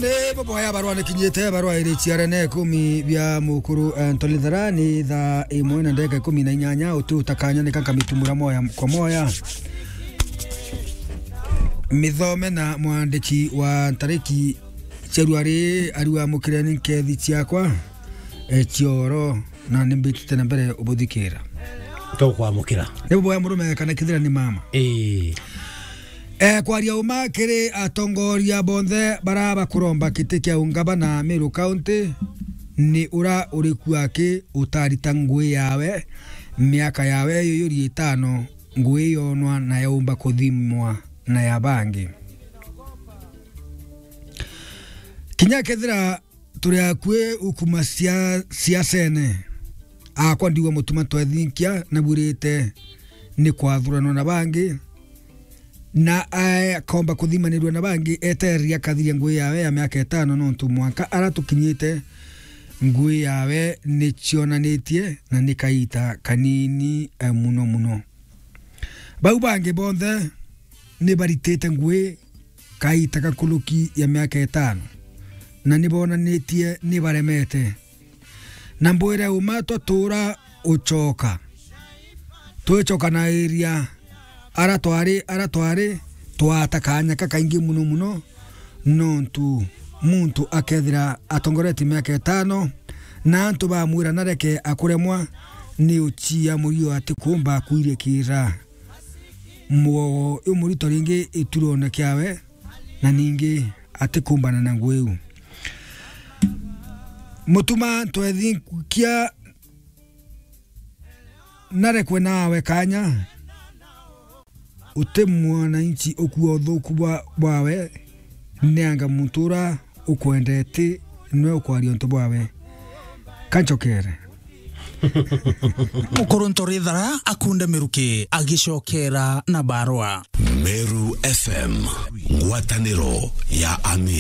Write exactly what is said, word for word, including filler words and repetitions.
Ni buboya barua nikinyite, barua iri ciarene ikumi bia mukuru, eh, Anthony Thara, ni thaa imwe na ndagika ikumi na inyanya, uti utakanya nika nkamitumura moya kwa moya. Mithome na mwandiki wa ntariki cia rua riri, ariwa mukireni nkethi ciakwa, eh, cioro, na nimbitite na mbere ubuthikira. Tukwamukira. Ni buboya murume kana kithira ni mama. Ii. Eh, kwaria uma kiri atongoria bonthe bara bakuromba kiti kia ungabana Meru County, ni ura uriku aki utarita ngui yawe, miaka yawe yuyuri itano, ngui yonwa na yaumba kuthimwa na ya bangi. Kinya kethira turi akui ukuma cia-, ciacene, akwa ndiwa mutuma twethinkia, nabwirite ni kwathuranwa na bangi, na akomba kuthimanirua na bangi, etereria akathiria ngui yawe ya miaka itano, nontu mwanka ara tukinyite, ngui yawe ni cionanitie na ni kaita kanini, eh, muno muno. Bau bangi bonthe ni baritite ngui kaita gakuruki ya miaka itano, na ni bonanitie ni baremete. Na mbwire uma twatura ucoka, twicokanairia ara twari, ara twari, twata kanya kakaingi muno muno, nontu muntu akethira atongoretie miaka itano, na antu bamwira nareke akuremwa, ni ucia murio atikumba kwirikira mwogo umurito ringi iturone kiawe, na ningi atikumbana na ngui iu. Mutuma ntwethinkia narekwe nawe kanya, uti mwananchi ukua uthuku bwa-, bwawe, neanga muntu ura ukwendete nwe ukwaria untu bwawe. Kanchokere. Mukuru Ntorithara akunde miruki agicokera na barua. Meru F M, ngwataniro ya Amiru.